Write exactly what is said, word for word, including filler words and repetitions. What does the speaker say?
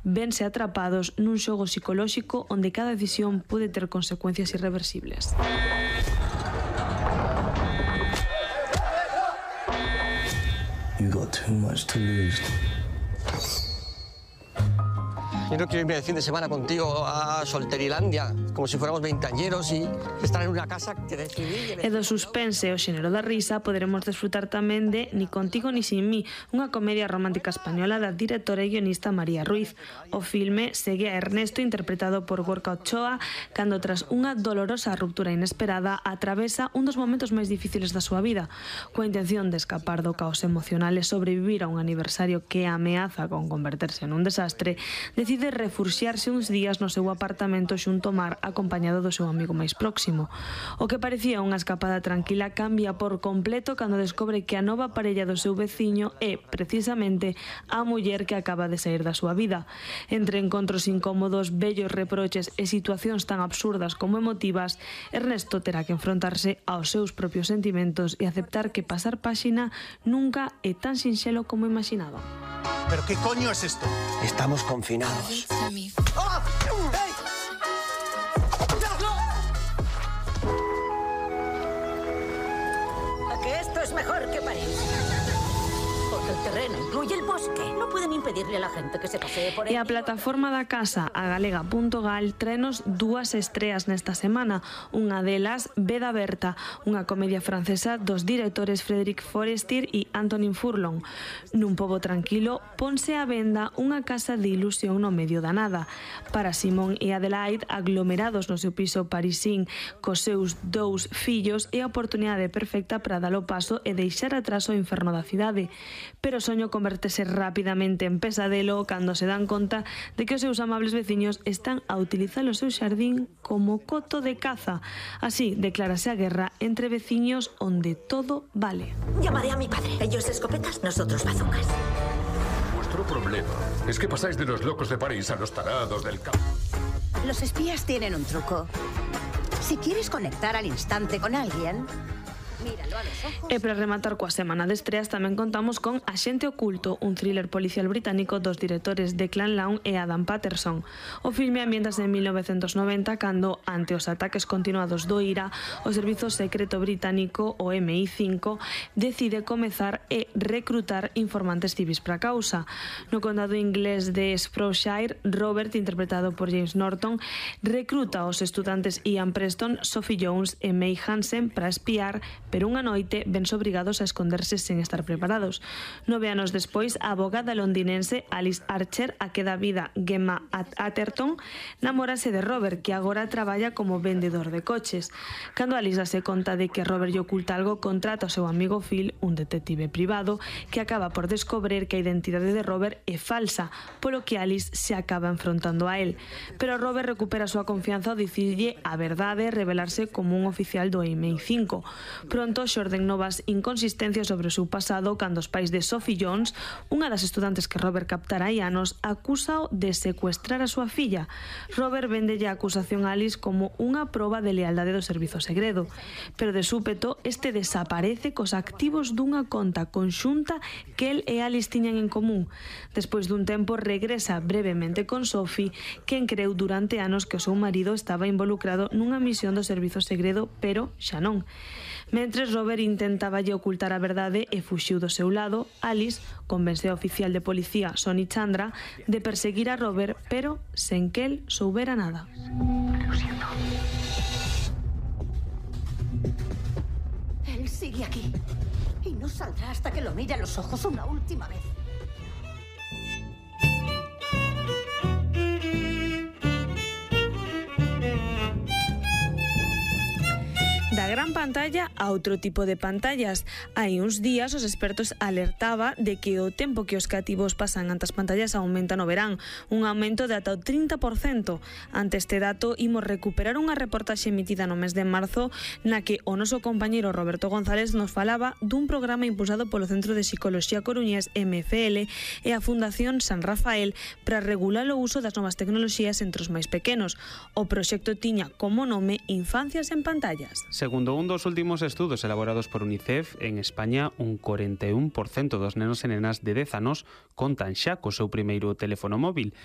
vense atrapados nun xogo psicolóxico onde cada decisión pode ter consecuencias irreversibles. You got too much to lose. Yo no quiero irme de fin de semana contigo a Solterilandia, como si fuéramos veinteañeros y estar en una casa que decidí... E do suspense o xénero da risa poderemos desfrutar tamén de Ni contigo ni sin mí, unha comedia romántica española da directora e guionista María Ruiz. O filme segue a Ernesto, interpretado por Gorka Ochoa, cando tras unha dolorosa ruptura inesperada atravesa un dos momentos máis difíciles da súa vida. Coa intención de escapar do caos emocional e sobrevivir a un aniversario que ameaza con converterse nun desastre, decide refuxiarse uns días no seu apartamento xunto ao mar, acompañado do seu amigo máis próximo. O que parecía unha escapada tranquila cambia por completo cando descobre que a nova parella do seu veciño é, precisamente, a muller que acaba de sair da súa vida. Entre encontros incómodos, bellos reproches e situacións tan absurdas como emotivas, Ernesto terá que enfrontarse aos seus propios sentimentos e aceptar que pasar páxina nunca é tan sinxelo como imaginaba. ¿Pero qué coño es esto? Estamos confinados. ¡Ah! ¡Ey! ¿A que esto es mejor que París? Porque el terreno incluye el bosque. No pueden impedirle a la gente que se pasee por él. E a plataforma da casa, a galega punto gal, trenos dúas estreas nesta semana. Unha delas, Veda Berta, unha comedia francesa dos directores Frédéric Forestier e Antonin Furlong. Nun pobo tranquilo, ponse a venda unha casa de ilusión no medio da nada. Para Simón e Adelaide, aglomerados no seu piso parisín cos seus dous fillos, é a oportunidade perfecta para dar o paso e deixar atrás o inferno da cidade. Pero o soño convertese rapidamente en pesadelo cando se dan conta de que os seus amables veciños están a utilizar o seu xardín como coto de caza. Así declárase a guerra entre veciños onde todo vale. Llamaré a mi padre. Ellos escopetas, nosotros bazucas. Vuestro problema es que pasáis de los locos de París a los tarados del campo. Los espías tienen un truco. Si quieres conectar al instante con alguien... míralo a los ojos. E para rematar coa semana de estreas tamén contamos con Axente Oculto, un thriller policial británico dos directores Declan Lawn e Adam Patterson. O filme ambientase en mil novecentos noventa cando, ante os ataques continuados do I R A, o Servizo Secreto Británico, o M I cinco, decide comezar e recrutar informantes civis para a causa. No condado inglés de Shropshire, Robert, interpretado por James Norton, recruta aos estudantes Ian Preston, Sophie Jones e May Hansen para espiar, pero unha noite vense obrigados a esconderse sen estar preparados. Nove anos despois, a abogada londinense Alice Archer, a que dá vida Gemma Atherton, namórase de Robert, que agora traballa como vendedor de coches. Cando Alice dase conta de que Robert lle oculta algo, contrata o seu amigo Phil, un detective privado, que acaba por descobrir que a identidade de Robert é falsa, polo que Alice se acaba enfrontando a él. Pero Robert recupera a súa confianza ao dicirlle a verdade e revelarse como un oficial do M I cinco. Pronto xorden novas inconsistencias sobre o seu pasado cando os pais de Sophie Jones, unha das estudantes que Robert captara hai anos, acúsao de secuestrar a súa filla. Robert vendelle a acusación a Alice como unha proba de lealdade do servizo segredo, pero de súpeto este desaparece cos activos dunha conta conxunta que el e Alice tiñan en común. Despois dun tempo regresa brevemente con Sophie, quen creu durante anos que o seu marido estaba involucrado nunha misión do servizo segredo, pero xa non. Mentres Robert intentaba lle ocultar a verdade e fuxiu do seu lado, Alice convence a oficial de policía Sonny Chandra de perseguir a Robert, pero sen que el soubera nada. Lo siento. Él sigue aquí y no saldrá hasta que lo mire a los ojos una última vez. Da gran pantalla a outro tipo de pantallas. Hai uns días os expertos alertaba de que o tempo que os cativos pasan ante as pantallas aumenta no verán, un aumento de ata o trinta por cento. Ante este dato, imos recuperar unha reportaxe emitida no mes de marzo na que o noso compañeiro Roberto González nos falaba dun programa impulsado polo Centro de Psicoloxía Coruñés M F L e a Fundación San Rafael para regular o uso das novas tecnoloxías entre os máis pequenos. O proxecto tiña como nome Infancias en Pantallas. Segundo un dos últimos estudos elaborados por UNICEF, en España un corenta e un por cento dos nenos e nenas de dez anos contan xa co seu primeiro teléfono móvil.